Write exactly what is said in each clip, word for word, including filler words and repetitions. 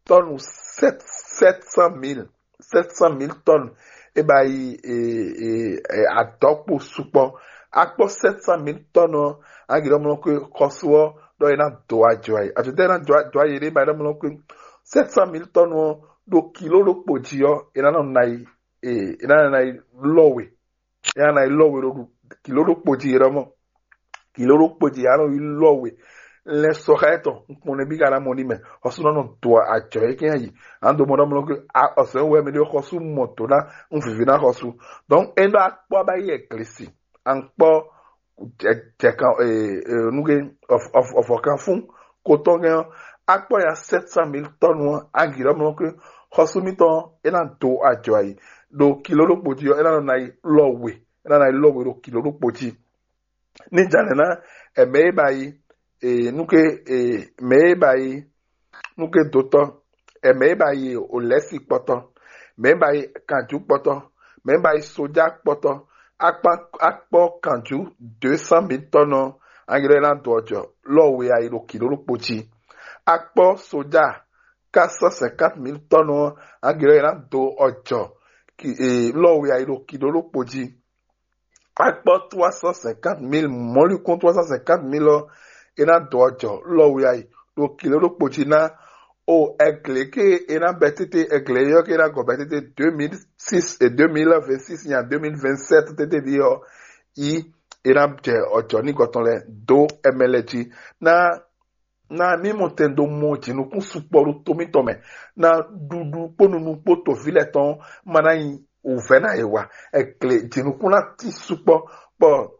tɔnu sept cent mille, sept cent mille tɔnu. E ba yi e, e, e, adɔkpo sukpɔ. Akpɔ sept cent mille tɔnu ɔ́, agirɔ mlɔ kwe xɔsu ɔ́ ɖɔ e ná do ajɔ ayi ajɔ tɛ e ná do ajɔ ayi ɖe ba yi ɖɔ mlɔ kwe sept cent mille tɔnu ɔ́ ɖo kilo ɖokpo jí ɔ́, e ná nɔ na yi e e ná nɔ na yi lɔ we e ná nɔ yi lɔ we ɖo ɖu kilo ɖokpo jí e ɖɔ mɔ kilo ɖokpo jí a nɔ yi lɔ we lɛ sɔxa etɔn nkpɔn ne bí ka ná mɔ ní mɛ ɔsùn nɔ do ajɔ e kɛn yi an do mɔ ɖɔ mlɔ ke ɔsùn wɛ mi ɖe xɔsu mɔ do ná n vivi ná xɔsu. Donc e ɖɔ akpɔ ba yi ɛglesi ankpɔ jɛkan nuke ɔfɔkan fún kotɔn kɛn akpɔ ya sept cent mille tɔnu agi ɖɔ mlɔ ke xɔsu mitɔn e ná do ajɔ ayi ɖo kilo ɖokpo jí ɔ e ná nɔ na yi lɔ we e ná nɔ yi lɔ we ɖo kilo ɖokpo jí. Ní jǎnɛ ná ɛmɛ e ba yi e nuke e mɛ e ba yi nuke dotɔ ɛmɛ e ba yi olɛsi kpɔtɔ mɛ e ba yi kanju kpɔtɔ mɛ e ba yi soja kpɔtɔ akpɔ kanju deux cent mille tɔnu angilɛ ná do ɔjɔ lɔ we ayi ɖo kilo ɖokpo jí. Akpɔ soja quatre cent cinquante mille tɔnu angilɛ ná do ɔjɔ lɔ we ayi ɖo kilo ɖokpo jí. Akpɔ trois cent cinquante mille mɔlikún trois cent cinquante mille ɔ́ e ná dɔ jɔ lɔ we ayi ɖo kilo ɖokpo jí ná o ɛglɛ ke e ná bɛ tete ɛglɛ yɔ ke ná gɔ bɛ tete deux mille six et deux mille vingt six nya deux mille vingt sept tete ɖi ɔ́ yi e ná jɛ ɔjɔ ní gɔtɔn lɛ do ɛmɛ lɛ jí ná na mí mɔ tɛn dó mɔ jǐnukún sukpɔ ɖo to mítɔn mɛ na ɖuɖu kpó nunu kpó toví lɛ́ɛ tɔn ma ná nyi wǔvɛ́ ná yě wa. Ɛglɛ jǐnukún ná tín sukpɔ bɔ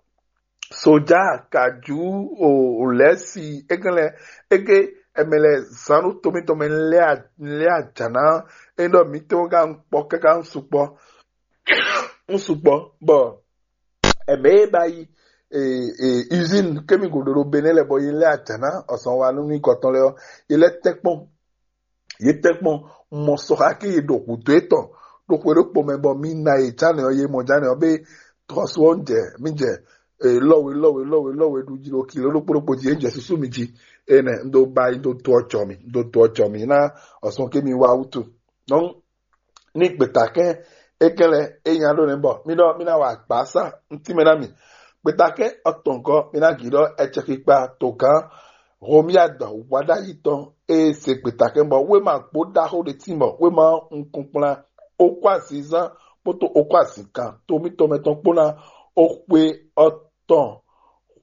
soja kajú o lɛ́si égé lɛ égé ɛmɛ lɛ zán ɖo to mítɔn mɛ lé ajǎ ná é ɖɔ mítɔn ká ń kpɔ káká ń sukpɔ ń sukpɔ bɔ ɛmɛ e ba yi usine kémi gòdò ɖo Benɛ lɛ bɔ yi lɛ ajǎ ná ɔsán wa nú ní gɔtɔn lɛ ɔ́ yi lɛ tɛ́nkpɔn yě tɛ́nkpɔn mɔ sɔxa ké yě ɖo hǔdó etɔn ɖo xwe ɖokpo mɛ bɔ mi na yě jánɛ ɔ́ yě mɔ jánɛ ɔ́ bé tɔxɔsu ɔ́ ń jɛ mí jɛ lɔwe lɔwe lɔwe lɔwe ɖu jí ɖo kilo ɖokpó ɖokpó jí é jɛ súsú mi jí. Énɛ́ un ɖo ba yi ɖo do ɔjɔ mi ɖo do ɔjɔ mi ná ɔsán kémi wá wútu. Donc ní gbětakɛ́n é kɛn lɛ é nya ɖó nɛ́ bɔ mí ɖɔ mí ná wa agbǎsa ntí mɛ ná mi. Gbětakɛ́n ɔtɔngɔ́ mí ná gǐ ɖɔ ɛcɛkpikpa togán Homiad wǎɖayi tɔn e se gbětakɛ́n bɔ wéma gbó ɖaxó ɖé tín bɔ wéma nukúnkplán okó azizán kpódó okó azǐnkan to mítɔn mɛ tɔn kpó ná oxwe ɔtɔn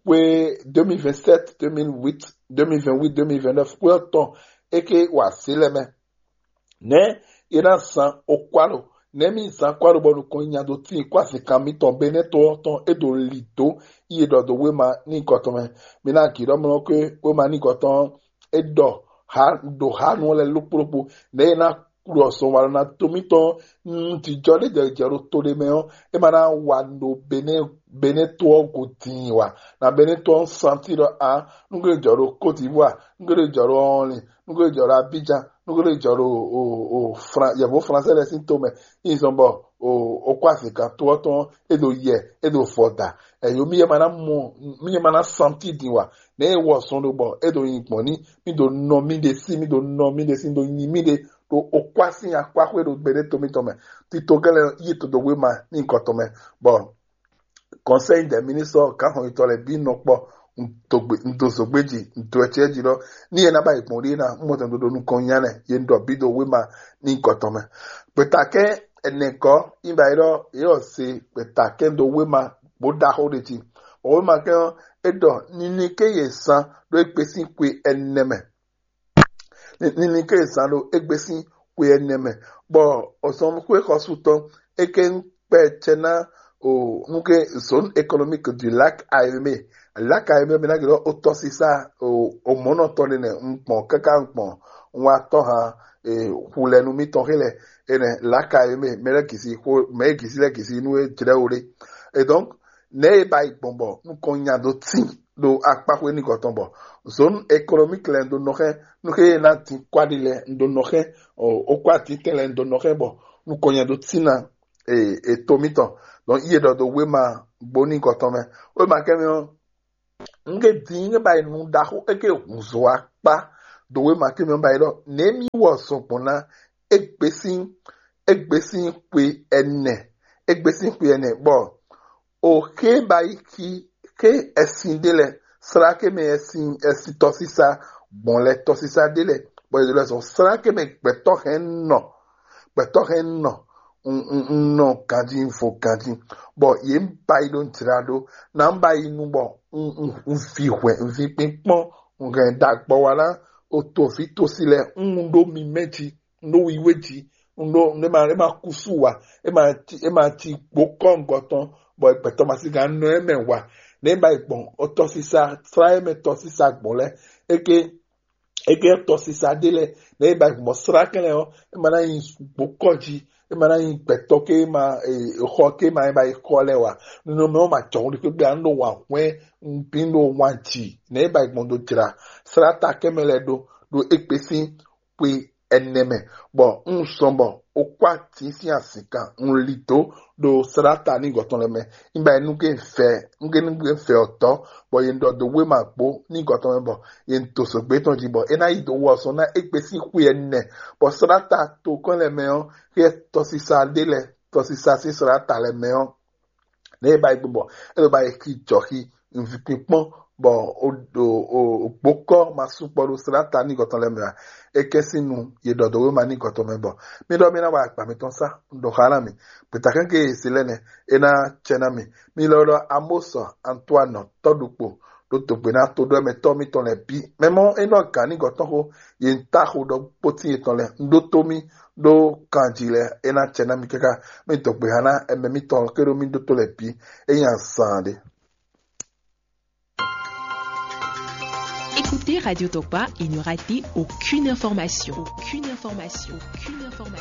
xwe deux mille vingt-sept, deux mille huit, deux mille vingt-huit, deux mille vingt-neuf xwe ɔtɔn é ké wa zě lɛ mɛ. Nɛ̌ è nǎ zán okwáɖo? Nɛ̌ mì zán kwáɖo bɔ nukɔn nyi nya dó tíin kó azǐnkan mitɔn Benɛ́ to ɔ́ tɔn é ɖo lǐ dó yi è ɖɔ dó wéma ní gɔtɔn mɛ? Mi ná gǐ ɖɔ mlɔ́ kwé wéma ní gɔtɔn ɔ́ é ɖɔ ɖo hǎnu ɔ́ lɛ́ɛ lókpóɖókpó. Nɛ̌ è nǎ ɖu azɔn walɔ ná to mítɔn nú jijɔ ɖé jɛ jɛ ɖo to ɖé mɛ ɔ́, é ma ná wa ɖo Benɛ́ Benɛ́ to ɔ́ go din wa. Na Benɛ́ to ɔ́ santi ɖɔ a nú gbe jɔ ɖo Côte d'Ivoire, nú gbe jɔ ɖo Ɔnlin, nú gbe jɔ ɖo Abidjan, nú gbe jɔ ɖo o o Fran yɛvo Fransɛ lɛ sín to mɛ. Ìzɔn bɔ o o kó azǐnkan to ɔ́ tɔn é ɖo yɛ é ɖo vɔ da. Ɛyó mi yɛ ma ná mɔ mi yɛ ma ná santi din wa. Nɛ é wɔ zɔn ɖo bɔ é ɖo nyi gbɔn ní mi ɖo nɔ mi ɖe sí mi ɖo nɔ mi ɖe sí mi ɖo nyi mi ɖe ɖo o kó así akpáxwé ɖo gbeɖé to mitɔn mɛ. Tito gɛlɛ yi to ɖo wéma ní gɔtɔn mɛ bɔ Conseil des ministres gǎnxɔyitɔ lɛ́ɛ bǐ nɔ kpɔ un do zǒgbé jí un do ɛcɛ́ jí ɖɔ ní yě ná ba yi gbɔn ɖíe ná un mɔ tɛn ɖo nukɔn nya nɛ yě ɖɔ bǐ ɖo wéma ní gɔtɔn mɛ. Gbětakɛ́n ɛnɛ gɔ́ yi ba yi ɖɔ yě wɔ se gbětakɛ́n ɖo wéma bó ɖaxó ɖe jí. Wéma kɛ́n ɔ́ é ɖɔ nini ké yě zán ɖó égbé sín xwe ɛnɛ mɛ. Nini ké zán ɖo égbé sín xwe ɛnɛ mɛ, bɔ ɔzɔnxwé xɔsutɔn é ké kpɛ cɛ ná o nú ké zone économique du lac Ayomé. Lac Ayomé mi ná gblɔ ó tɔ́sísá o mɔ̌nɔtɔn ɖé nɛ un gbɔn káká un gbɔn un wá tɔ́ hàn xulɛnu mitɔn xé lɛ enɛ lac Ayomé mɛ lɛ gisi xo mɛ gisi lɛ gisi nú é jlɛ́ wo ɖé. Et donc nɛ̌ e ba yi gbɔn bɔ nukɔn nya dó tín ɖo akpáxwé ní gɔtɔn bɔ zone économique lɛ ɖo nɔ xɛ nú xé ná dín kwáɖi lɛ ɖo nɔ xɛ o kwá títɛn lɛ ɖo nɔ xɛ bɔ nukɔn nya dó tín ná e to mitɔn. Donc iye ɖɔ do wéma gbóní gɔtɔn mɛ wéma kɛmi ɔ́ nge dín nge ba yi nu ɖaxó eke hunzo akpá dǒwe ma ké mɛ ba yi ɖɔ nɛ̌ mì wɔ zɔn gbɔn ná égbé sín égbé sín xwe ɛnɛ égbé sín xwe ɛnɛ bɔ o xé ba yi xi xé ɛsin ɖé lɛ sláké mɛ ɛsin ɛsin tɔsísá gbɔn lɛ tɔsísá ɖé lɛ bɔ yě lɛ zɔn sláké mɛ gbɛtɔ́ hɛn nɔ gbɛtɔ́ hɛn nɔ un un un nɔ ganjí un fo ganjí bɔ yě ń ba yi ɖo jlá ɖó ná ń ba yi nu bɔ un un un vi hwɛ un vi kpínkpɔ́n un hɛn ɖagbɔ wa ná o to vǐ tosi lɛ un ɖó mi mɛ jí un ɖó wiwe jí un ɖó un ɖé ma é ma kúsú wa é ma ci é ma ci gbó kɔ́ngɔ tɔn bɔ gbɛtɔ́ ma sí gán nɔ ɛ mɛ wa nɛ ba yi gbɔn o tɔsísá srá é mɛ tɔsísá gbɔn lɛ é ké é ké tɔsísá ɖé lɛ nɛ ba yi gbɔn srá kɛnɛ ɔ é ma ná yi gbó kɔ jí é ma ná yi gbɛtɔ́ ké ma xɔ ké ma é ba yi xɔ lɛ wa nínú mɛ ɔ ma jɔ wuli kpékpé an ɖo wa hwɛn bí ɖo wa jì nɛ ba yi gbɔn do jra srá ta kɛmɛ lɛ ɖó ɖó égbé sín xwe ɛnɛ mɛ bɔ un sɔn bɔ o kó atín sín azǐnkan un li dó ɖo sláta ní gɔtɔn lɛ mɛ nígbà yẹn nú ké fɛ nú ké fɛ ɔtɔ bɔ yě ɖɔ dó wéma gbó ní gɔtɔn mɛ bɔ yě dó sɔgbé tɔn jí bɔ é ná yi dó wɔ sɔn ná égbé sín xwe ɛnɛ bɔ sláta tokɔn lɛ mɛ ɔ́ xyɛ tɔsisa ɖé lɛ tɔsisa sín sláta lɛ mɛ ɔ́ nɛ e ba yi gbɔn bɔ e ba yi xi jɔxi nvi kpinkpɔn bɔ o o o gbokɔ ma sukpɔ ɖo srata ní gɔtɔn lɛ mɛ a e kɛn sín nu ye ɖɔ dó wéma ní gɔtɔn mɛ bɔ mi ɖɔ mi ná wa agba mitɔn sá ɖo xa ná mi gbeta kɛn ke se lɛ nɛ e ná cɛ ná mi mi lɔ ɖɔ amosɔ antoine tɔɖukpo ɖo dogbe ná to ɖɔ mɛ tɔ mitɔn lɛ bi mɛ mɔ e nɔ gǎn ní gɔtɔn xo ye ta xo ɖɔ kpótin yetɔn lɛ un ɖó tó mi ɖó kanji lɛ e ná cɛ ná mi káká mi dɔgbe xa ná ɛmɛ mitɔn ké ɖo mi ɖótó lɛ bi é nyi azan ɖé. Écoutez Radio Tokpa et ne ratez aucune information. Aucune information. Aucune information.